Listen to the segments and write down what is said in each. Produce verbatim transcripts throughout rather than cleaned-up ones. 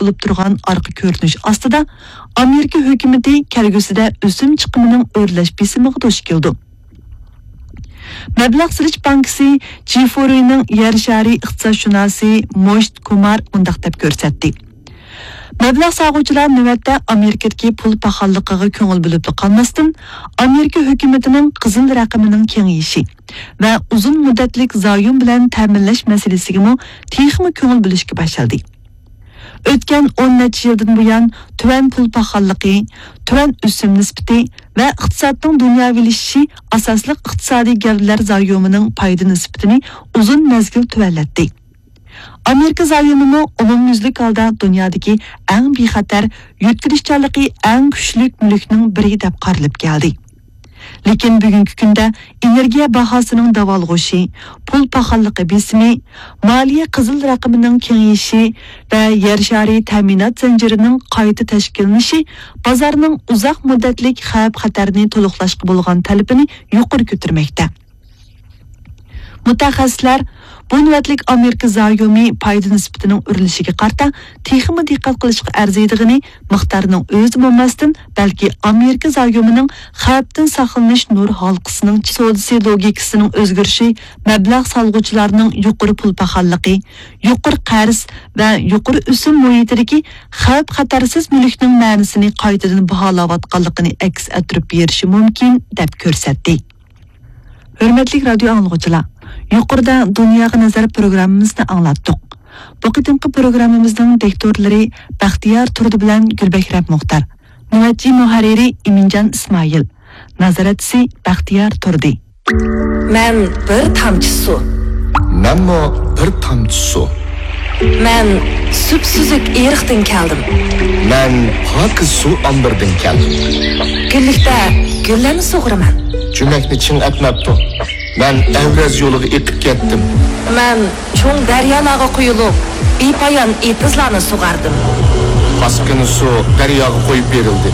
بولۇپ تۇرغان ئارقا كۆرۈنۈش ئاستىدا، ئامېرىكا ھۆكۈمىتى كەلگۈسىدە ئۆسۈم چىقىمىنىڭ ئۆرلەش بېسىمىغا دۇچ كېلىدۇ. مەبلەغ سېلىش بانكىسى جىفورىنىڭ يەر شارى ئىقتىسادشۇناسى موشت كۇمار مۇنداق دەپ كۆرسەتتى: مەبلەغ سالغۇچىلار نۆۋەتتە ئامېرىكىدىكى پۇل پاخاللىقىغا كۆڭۈل بۆلۈپلا قالماستىن، ئامېرىكا ھۆكۈمىتىنىڭ قىزىل رەقىمىنىڭ كېڭىيىشى ۋە ئۇزۇن مۇددەتلىك زايوم بىلەن تەمىنلەش مەسىلىسىگىمۇ تېخىمۇ كۆڭۈل بۆلۈشكە باشلىدى. ئۆتكەن ئون نەچچە يىلدىن بۇيان، تۆۋەن پۇل پاخاللىقى، تۆۋەن ئۆسۈم نىسبىتى ۋە ئىقتىسادنىڭ دۇنياۋىلىشىشى ئاساسلىق ئىقتىسادىي گەۋدىلەر زايومىنىڭ پايدا نىسبىتىنى ئۇزۇن مەزگىل تۆۋەنلەتتى. ئامېرىكا زايومىمۇ ئومۇميۈزلۈك ھالدا دۇنيادىكى ئەڭ بىخەتەر، يۆتكىلىشچانلىقى ئەڭ كۈچلۈك مۈلۈكنىڭ بىرى دەپ قارىلىپ كەلدى. لېكىن بۈگۈنكى كۈندە ئېنېرگىيە باھاسىنىڭ داۋالغۇشى، پۇل پاخاللىقى بېسىمى، مالىيە قىزىل رەقىمىنىڭ كېڭىيىشى ۋە يەر شارى تەمىنات زەنجىرىنىڭ قايتا تەشكىللىنىشى بازارنىڭ ئۇزاق مۇددەتلىك خەۋپ-خەتەرنى تولۇقلاشقا بولغان تەلىپىنى يۇقىرى كۆتۈرمەكتە. مۇتەخەسسىسلەر بۇ نۆۋەتلىك ئامېرىكا زايومى پايدا نىسبىتىنىڭ ئۆرلىشىگە قارىتا تېخىمۇ دىققەت قىلىشقا ئەرزىيدىغىنى مىقدارنىڭ ئۆزى بولماستىن، بەلكى ئامېرىكا زايومىنىڭ خەۋپتىن ساقلىنىش نۇر ھالقىسىنىڭ سودىسى لوگىكىسىنىڭ ئۆزگىرىشى، مەبلەغ سالغۇچىلارنىڭ يۇقىرى پۇل پاخاللىقى، يۇقىرى قەرز ۋە يۇقىرى ئۆسۈم مۇھىتىدىكى خەۋپ-خەتەرسىز مۈلۈكنىڭ مەنىسىنى قايتىدىن باھالاۋاتقانلىقىنى ئەكس ئەتتۈرۈپ بېرىشى مۇمكىن، دەپ كۆرسەتتى. ھۆرمەتلىك رادىيو ئاڭلىغۇچىلار، يۇقىرىدا دۇنياغا نەزەر پروگراممىمىزنى ئاڭلاتتۇق. بۇ قېتىمقى پروگراممىمىزنىڭ دىكتورلىرى بەختىيار تۇردى بىلەن گۈلبەھرەم مۇختار. نۆۋەتچى مۇھەررىرى ئىمىنجان ئىسمائىل. نازارەتچىسى بەختىيار تۇردى. مەن بىر تامچە سۇ. مەنمۇ بىر تامچە سۇ. مەن سۈپسۈزۈك ئېرىقتىن كەلدىم. مەن پاكىز سۇ ئامبىرىدىن كەلدىم. گۈللۈكتە گۈللەرنى سۇغۇرىمەن. جۈمەكنى چىڭ ئەتمەپتۇ. مەن ئەۋرەز يولىغا ئېقىپ كەتتىم. مەن چوڭ دەريالارغا قۇيۇلۇپ، بىپايان ئېتىزلارنى سۇغاردىم. پاسكىنا سۇ دەرياغا قويۇپ بېرىلدى.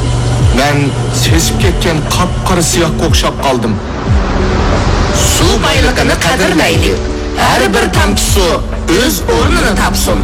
مەن سېسىپ كەتكەن قاپقارا سىياھقا ئوخشاپ قالدىم. سۇ بايلىقىنى قەدىرلەيلى. ھەر بىر تامچە سۇ ئۆز ئورنىنى تاپسۇن.